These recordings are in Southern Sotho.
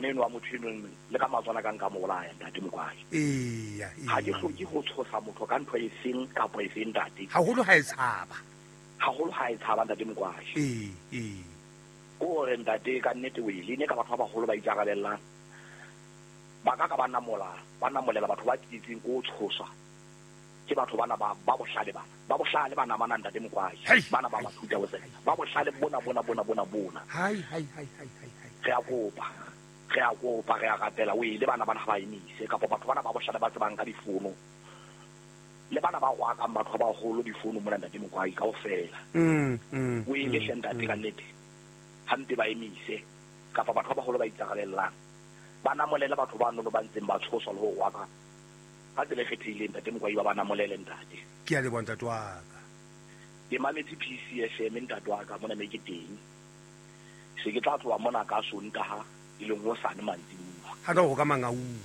Ngwana eno wa motho eno le ka matswana ka nka mo bolaya, ntate Mokwadi. Eya. Ha ke hloke ho tshosa motho ka ntho e seng kapa e seng, ntate. Haholo ha e tshaba. Haholo ha e tshaba, ntate Mokwadi. Ee, ee. Ko hore ntate ka nnete o ile ne ka batho ba baholo ba ikarabellang. Ba ka ka ba namola, ba namolela batho ba tsietsing ko tshoswa. Ke batho bana ba ba bohlale bana. Ba bohlale bana bana, ntate Mokwadi. Bana ba ba thuta ho tsena. Ba bohlale bona bona bona bona bona. Hai hai hai hai hai hai. Re a kopa. Re a kopa, re a rapela o ile bana bana ha ba emise kapa batho bana ba bohlale ba tsebang ka difono. Le bana ba rwakang batho ba baholo difono mona, ntate Mokwadi, kaofela. O ile hle ntate ka nnete. Hampe ba emise kapa batho ba baholo ba ikarabellang. Ba namolele batho ba nono ba ntseng ba tshoswa le ho rwaka ka tsela e kgethehileng, ntate Mokwai, ba ba namolele, ntate. Ke a leboha, ntate wa ka. Ke mametse PCFM, ntate wa ka, mona me ke teng. Se ke tla tloha mona ka Sontaha e leng hosane mantsibuya. Ha no go ka Mangaung.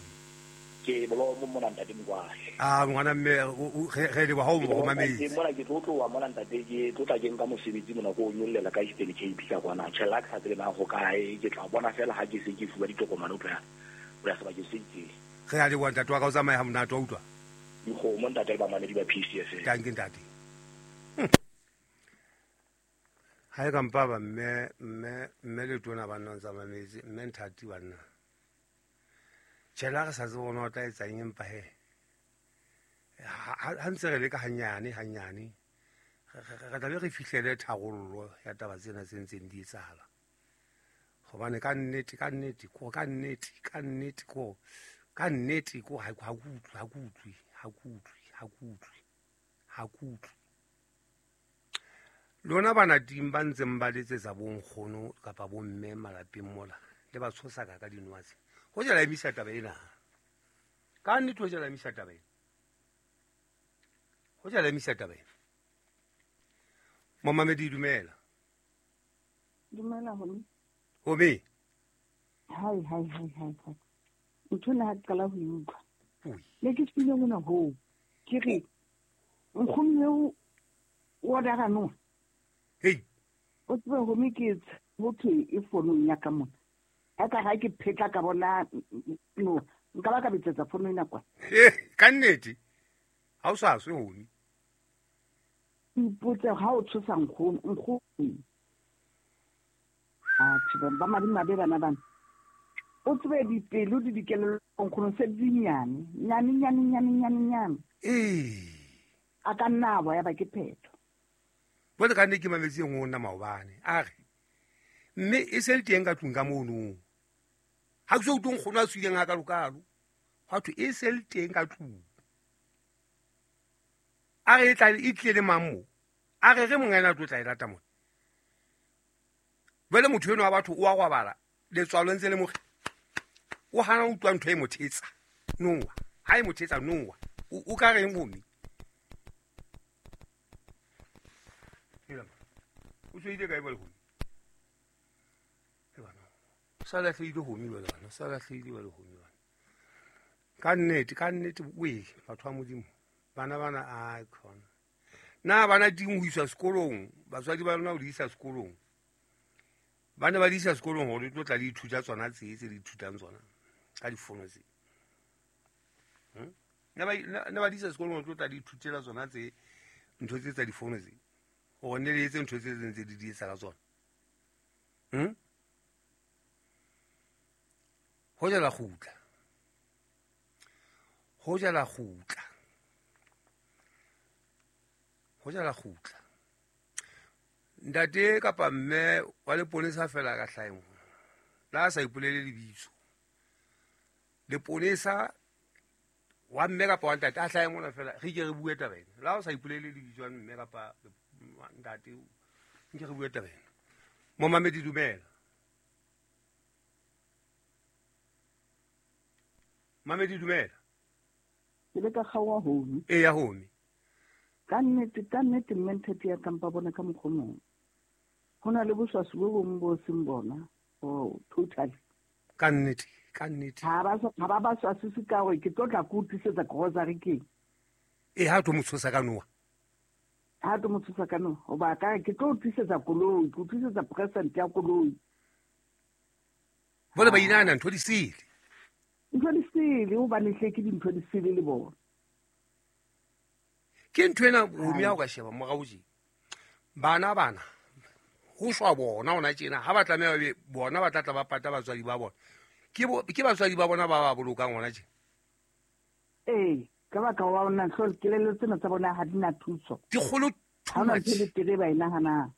Ke Bolomo mona, ntate Mokwai. A ngwana mme re leboha o mo mametse. Mona ke tlo tloha mona, ntate, ke tlo tla ke nka mosebetsi mona ko o nyollela ka Eastern Cape ka kwana. Tjhe, la ke sa tsebe na ho kae, ke tla bona fela ha ke se ke fuwa ditokomane ho tloha ho ya sebakeng se itseng. Re a leboha, ntate wa ka, o tsamaye ha monate wa utlwa. Dikgomo, ntate, le bamamedi ba PCFM. Tanke, ntate. Ha e ka mpa ba mme mme mme le tona ba nna ntsa mametse mme nthati banna. Tjhe, la re sa tsebe ona o tla etsang empa he. Ha ntse re leka hanyane hanyane re tla be re fihlele tharollo ya taba tsena tse ntseng di etsahala. Hobane ka nnete ka nnete ko ka nnete ka nnete ko ka nnete ko ha ha kutlwe ha kutlwe ha kutlwe ha kutlwe ha kutlwe. Lona bana ting ba ntseng ba letsetsa bonkgono kapa bomme malapeng mola le ba tshosa ka ka dinowa tse. Ho jela emisa taba ena. Ka nnete ho jela emisa taba ena. Ho jela emisa taba ena. Momamedi, dumela. Dumela homi. Homi. Hai hai hai hai hai. Ntho ena ha ke qala ho e utlwa. Ne ke tsile mona hoo. Ke re nkgono eo o order no. Hey. O tsebe homi ke ho thwe e fonong ya ka mona. Ha ka ha ke phetla ka bona no nka ba ka betsetsa fono ena kwa. Ka nnete. Ha o sa swe homi. Ipotse ha o tshosa nkgono, nkgono. A tsebe ba madimabe bana bana. O tsebe dipelo di dikelello nkgono se di nyane, nyane nyane nyane nyane nyane. A ka nna ba ya ba ke phetho. Bone ka nne ke mametse e nngwe nna maobane. A re mme e se le teng ka tlung ka mono. Ha ke so utlwe nkgono a tswileng ha kalokalo. Hwa thwe e se le teng ka tlung. A re e tla e tlile le mang mo? A re re monga ena a tlo tla e lata mona. Jwale motho enwa wa batho o a robala, letswalo ntse le mo o hana ho utlwa ntho e mo thetsa. Noa, ha e mo thetsa noa. O ka reng bomme? O tswile kae bale homi? Sa lahlehile homi jwale bana, sa lahlehile jwale homi bana. Ka nnete, ka nnete we batho ba Modimo. Bana bana a khona. Na bana ting ho iswa sekolong, batswadi ba lona ho di isa sekolong. Ba ne ba di isa sekolong hore di tlo tla di ithuta tsona tse tse di ithutang tsona ka difono tse. Ne ba di isa sekolong hore di tlo tla di ithutela tsona tse ntho tse tsa difono tse. Hore ne le etse ntho tse tse ntse di di etsa ka tsona. Ho jala kgutla. Ho jala kgutla. Ho jala kgutla. Ntate kapa mme wa leponesa fela ka hlaeng. La sa ipolele lebitso. Leponesa wa mme kapa wa ntate a hlahe mona fela re ke re bue taba ena. La o sa ipolele lebitso la mme kapa ntate nke re bue taba ena. Momamedi, dumela. Mamedi, dumela. Ke le ka kgaoha homi. E ya homi. Ka nnete, ka nnete mme nthati ya kampa bona ka mokgwa o mong. Ho na le boswaswi bo bong bo seng bona. Oh, totally. Ka nnete, ka nnete. Ha ba ba swasise ka hore ke tlo tla ke o tlisetsa grocery keng. E ha tlo mo tshosa ka noa. Ha tlo mo tshosa ka noa, hoba ka ke tlo o tlisetsa koloi, ke o tlisetsa present ya koloi. Bole ba inahana ntho di sele. Ntho di sele hobane hle ke dintho di sele le bona. Ke ntho ena homi ha o ka sheba morao tje. Bana ho shwa bona hona tjena ha ba tlameha be bona ba tla ba pata batswadi ba bona. Ke batswadi ba bona ba ba bolokang hona tje. Ee, ka baka wa ona hlol kelello tsena tsa bona ha di na thuso. Di kgolo too much. Ha tere ba inahanang.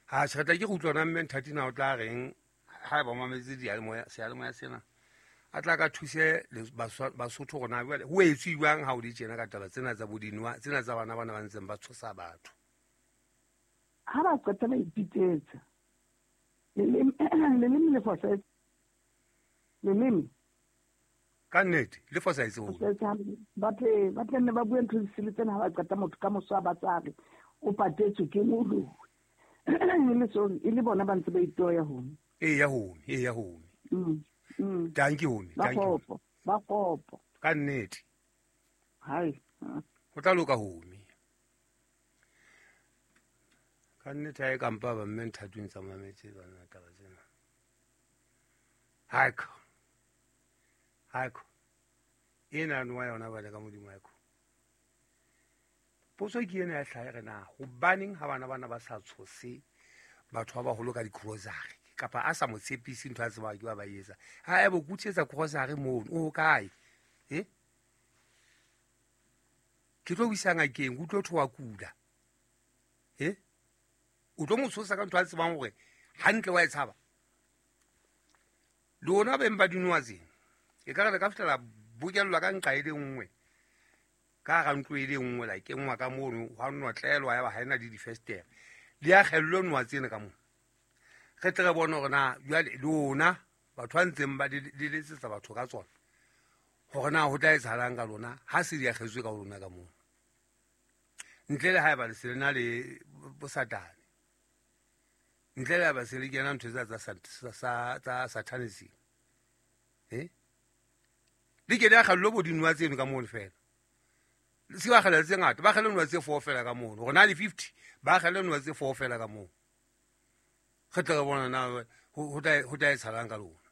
Ha se tla ke go utlwa mme Nthati na o tla reng ha ba mametse diyalemoya seyalemoya sena. A tla ka thuse Basotho rona jwale ho etswe jwang ha o di tjena ka taba tsena tsa bodinwa tsena tsa bana bana ba ntseng ba tshosa batho. Ha ba qeta ba ipitsetsa. Leleme le fosahetse. Leleme. Ka nnete le fosahetse ho. Ba tle ne ba bue ntho di sele tsena ha ba qeta motho ka moso ba tsare o patetswe ke moloi. E le bona ba ntse ba itoya homi. Eya homi, eya homi. Thank you homi, thank you. Ba kopo. Ka nnete. Hai. Ho tla loka homi. Ka nnete ha e kampa ba mme Nthati ntsa mametse bana taba tsena. Haiko. Haiko. Ena nwa yona ba le ka Modimo haiko. Potso ke ena ya hlaha re na hobaneng ha bana ba sa tshose batho ba baholo ka di-grocery kapa a sa mo tshepise ntho a tsebang ke ba etsa. Ha e bo kutsetsa grocery mono o kae? Ke tlo isa ngakeng o tlo thoa kula. O tlo mo tshosa ka ntho a tsebang hore hantle wa e tshaba. Lona beng ba dinowa tsena e ka re le ka fihlela bokellwa ka nqa e le nngwe. Ka ga ntlo e le nngwe la kenngwa ka mono hwa notlelwa ya ba ha ena le difestere. Di a kgellwe nowa tsena ka mono. Re tle re bone hore na jwale lona batho ba ntseng ba le letsetsa batho ka tsona hore na ho tla etsahalang ka lona ha se di akgetswe ka lona ka mono. Ntle le haeba le se le na le bosatane. Ntle le haeba se le kena ntho tsa satanism. Le ke di akgellwe bo dinowa tseno ka mono fela. Se ba kgella tse ngata, ba kgelle nowa tse 4 fela ka mono. Hore na le 50 ba kgelle nowa tse 4 fela ka mono. Re tla re bona na ho tla etsahalang ka lona.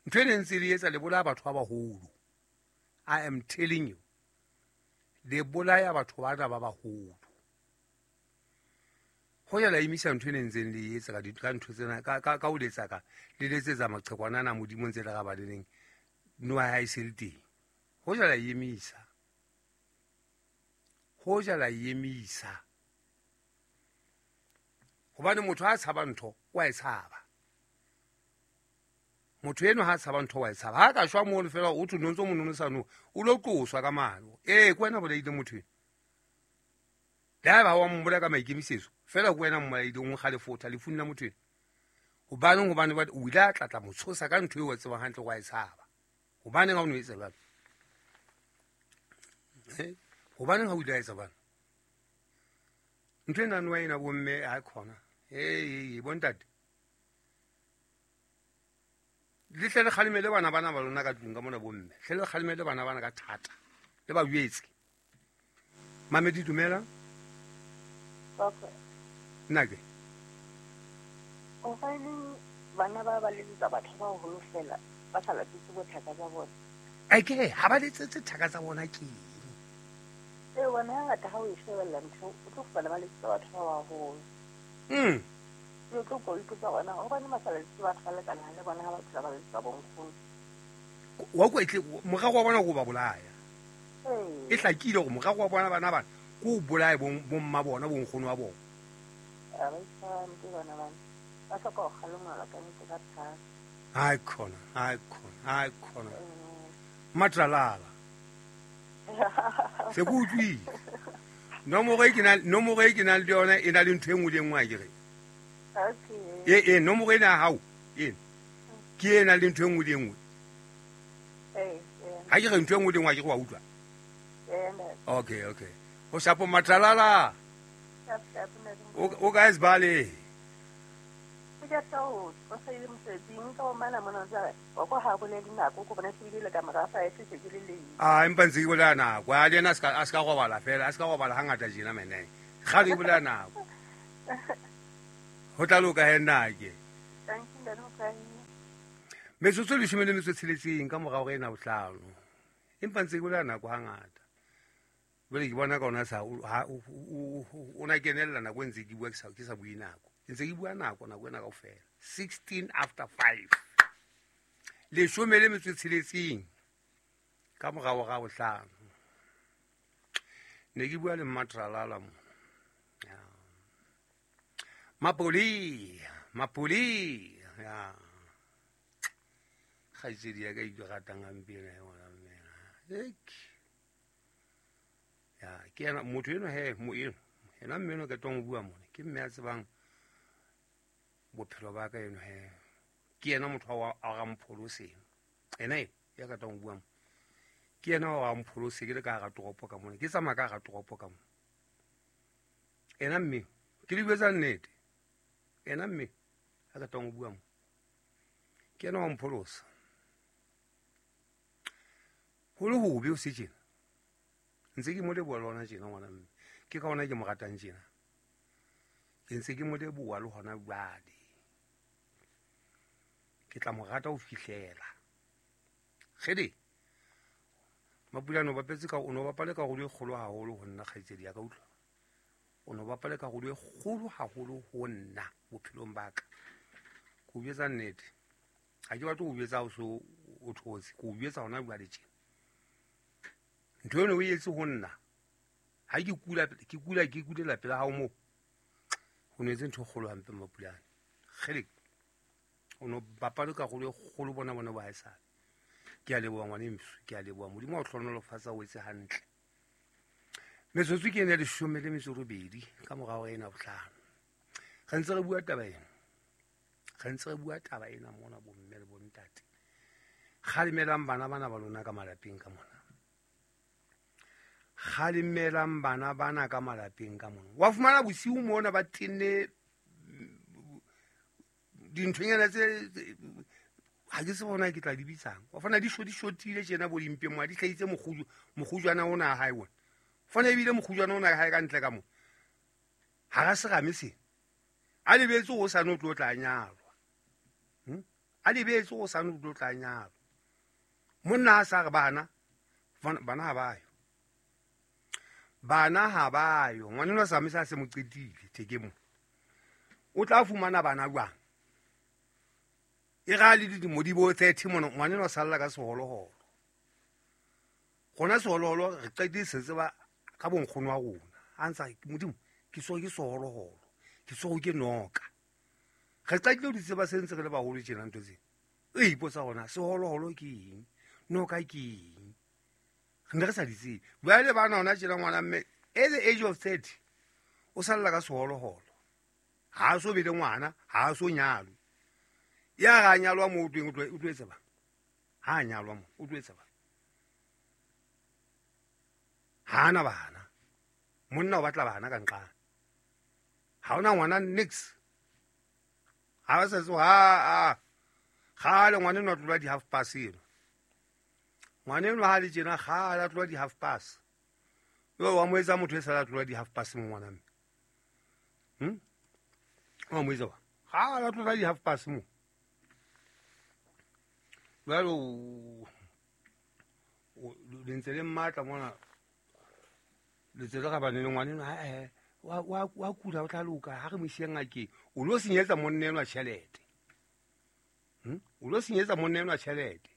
Ntho e ne ntse le etsa le bolaya batho ba baholo. I am telling you. Le bolaya batho bana ba baholo. Ho ya la emisa ntho e ne ntseng le etsa ka ntho tsena ka ho letsa ka le letsetsa maqhekwana ana Modimo ntse le ga ba leng nowa ha e se le teng. Ho ja la emisa. Ho ja la emisa. Hobane motho ha tshaba ntho wa e tshaba. Motho eno ha tshaba ntho wa e tshaba. Ha ka shwa mono fela o thwe ntso monono sa no o lo qoswa ka mano. Ke wena bolaile motho eno. Le ha ba wa mmola ka maikemisetso fela ke wena mmolaile o nkgalefotha lefung la motho eno. Hobaneng hobane o ile a tlatla mo tshosa ka ntho eo o tsebang hantle wa e tshaba. Hobaneng ha o no etsa jwalo? Hobaneng ha o ile a etsa jwalo? Ntho ena nowa ena bomme ha khona. Bontate. Le tle le kgalemele bana bana ba lona ka tlung ka mona bomme. Tle le kgalemele bana bana ka thata. Le ba jwetse. Mamedi dumela. Okay. Nna ke. O faineng bana ba ba letsetsa batho ba baholo fela ba sa letsetse bothaka tsa bona. Ake ha ba letsetse thaka tsa bona ke eng? Bona hangata ha o e shebella ntho o tlo fumana ba letsetsa batho ba baholo. O tlo ko ipotsa hore na hobane ba sa letsetse batho ba lekanang le bona ha ba phela ba letsetsa bonkgono. Wa kwa etle morero wa bona ko ba bolaya. E hlakile hore morero wa bona bana bana ko bolaye bomma bona bonkgono wa bona. Ba itshwara hampe bana bana. Ba hloka ho kgalemelwa ka nnete ka thata. Hai khona, hai khona, hai khona. Matralala. Se go utlwile. Nomoro e ke nang le yona e na le ntho e nngwe le e nngwe a ke re. Okay. Nomoro ena ya hao ena. Ke e nang le ntho e nngwe le e nngwe. Ha ke re ntho e nngwe le e nngwe a ke re wa utlwa. Okay, okay. O shapo Matralala. O kae Sibale? Ke tla o sa ile mosebetsing ka o mana mona tsa wa go ha bolele nako go bona se ile ka mora fa e se ke le le. Empa ntse ke bolela nako. A le yena a ska robala fela, a ska robala hangata jena mene. Kgale ke bolela nako. Ho tla loka he nna ke. Thank you. Metsotso 16 ka morao re ena bohlano. Empa ntse ke bolela nako hangata. Jwale ke bona ka ona sa o na kenella nako e ntse ke bua ke sa bue nako. Ntse ke bua nako nako ena kaofela. 5:16. 16 ka morao ga bohlano. Ne ke bua le Mmatralala mo. Mapoli, Mapoli. Ya. Kgaitsedi ya ka e ratang hampe ena ya ngwana mme. Ya, ke yena motho eno he, mo eno. Yena mme eno ke tong bua mona. Ke mme a tsebang bophelo ba ka eno he. Ke yena motho wa a rampholoseng. Ena e ya ka tong bua mo. Ke yena wa rampholose ke le ka hara toropo ka mona. Ke tsamaya ka hara toropo ka mona. Ena mme ke le bua nnete. Ena mme a ka tong bua mo. Ke yena wa mpholosa. Ho le hobe o se tjena. Ntse ke mo leboha le hona tjena ngwana mme. Ke ka hona ke mo ratang tjena. Ke ntse ke mo leboha le hona jwale. Ke tla mo rata ho fihlela. Kgede. Mapulane o bapetse ka o no bapale karolo e kgolo haholo ho nna kgaitsedi ya ka utlwa. O no bapale karolo e kgolo haholo ho nna bophelong ba ka. Ke o jwetsa nnete. Ha ke batle ho jwetsa o so o thotse. Ke o jwetsa hona jwale tjena. Ntho eno o etse ho nna. Ha ke kula ke kula ke kulela pela hao mo. Ho no etse ntho e kgolo hampe Mapulane. Kgele. O no bapale karolo e kgolo bona bona ba haesale. Ke a leboha ngwaneso, ke a leboha. Modimo wa hlohonolofatsa o etse hantle. Metsotso ke ena 18 ka morao ena bohlano. Re ntse re bua taba ena. Re ntse re bua taba ena mona bomme le bontate. Kgalemelang bana bana ba lona ka malapeng ka mona. Kgalemelang bana bana ka malapeng ka mona. Wa fumana bosiu mona ba tenne dinthonyana tse ha ke se bona ke tla di bitsang. Wa fana di shotile tjena bo dimpeng mo di hlahitse mokgujwana ona ha hae wona. Fana ebile mokgujwana ona ha hae ka ntle ka mo. Ha ra serame se. A lebetse o sa no tlo tla nyalwa. A lebetse o sa no tlo tla nyalwa. Monna a sa re bana bana ha ba yo. Bana ha ba yo. Ngwana o sa me sa se mo qetile theke mo. O tla fumana bana jwang? E ga le dilemo di bo 30 mona ngwana o salla ka seholoholo. Gona seholoholo re qetile se tseba ka bonkgono wa rona. A ntsa Modimo ke so ke seholoholo. Ke so ke noka. Re qetile di tseba se ntse re le baholo tjena ntho tse. E ipotsa gona seholoholo ke eng? Noka ke eng? Re ne re sa di tsebe. Jwale bana hona tjena ngwana mme at the age of 30 o salla ka seholoholo. Ha so be le ngwana, ha so nyalwe. Ya ga nyalwa mo o tweng o tlo etsa ba. Ha nyalwa mo o tlo etsa ba. Ha na bana. Monna o batla bana ka nqana. Ha ona ngwana nix. Ha ba sa tso ha a. Kgale ngwana no tlola di half past eno. Ngwana eno ha le tjena kgale a tlola di half past. Yo wa mo etsa motho e sa tlola di half past mo ngwana mme. Wa mo etsa wa. Kgale a tlola di half past mo. Jwale le ntse le mmatla mona le tse le ga bane le ngwana eno wa kula o tla loka ha re mo ise ngakeng. O lo senyetsa monna enwa tjhelete. O lo senyetsa monna enwa tjhelete.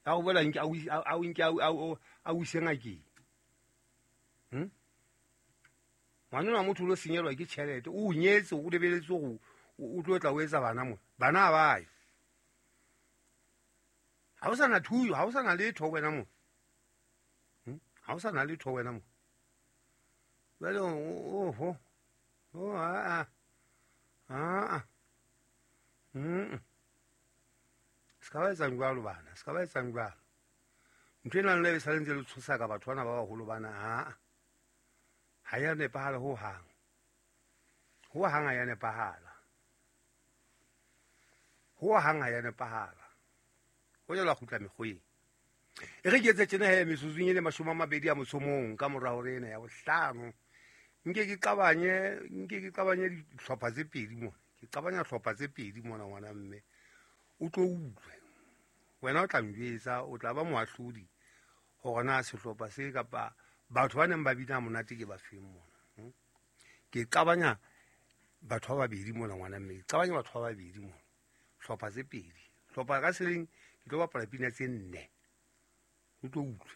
A o bola nke a o nke a o ise ngakeng. Ngwana enwa motho o lo senyelwa ke tjhelete. O nyetse o lebeletse hore o tlo tla o etsa bana mona. Bana ha ba yo. Ha o sa na thuyo, ha o sa na letho wena mo. Ha o sa na letho wena mo. Jwale oho. Oh a a. A. Se ka ba etsang jwalo bana, se ka ba etsang jwalo. Ntho ena le sa ntse le tshosa ka batho bana ba baholo bana ha. Ha ya nepahala ho hang. Ho hang ha ya nepahala. Ho hang ha ya nepahala. Ho jela kgutla mekgweng. E re ke etse tjena he metsotsong e le 21 ka mora hore ena ya bohlano. Nke ke qabanye dihlopha tse pedi mona. Ke qabanya hlopha tse pedi mona ngwana mme. O tlo utlwe. Wena o tla njwetsa, o tla ba moahlodi hore na sehlopha se kapa batho ba neng ba bina monate ke ba feng mona. Ke qabanya batho ba babedi mona ngwana mme. Ke qabanya batho ba babedi mona. Hlopha tse pedi. Hlopha ka seleng ke tlo bapala pina tse nne. O tlo utlwe.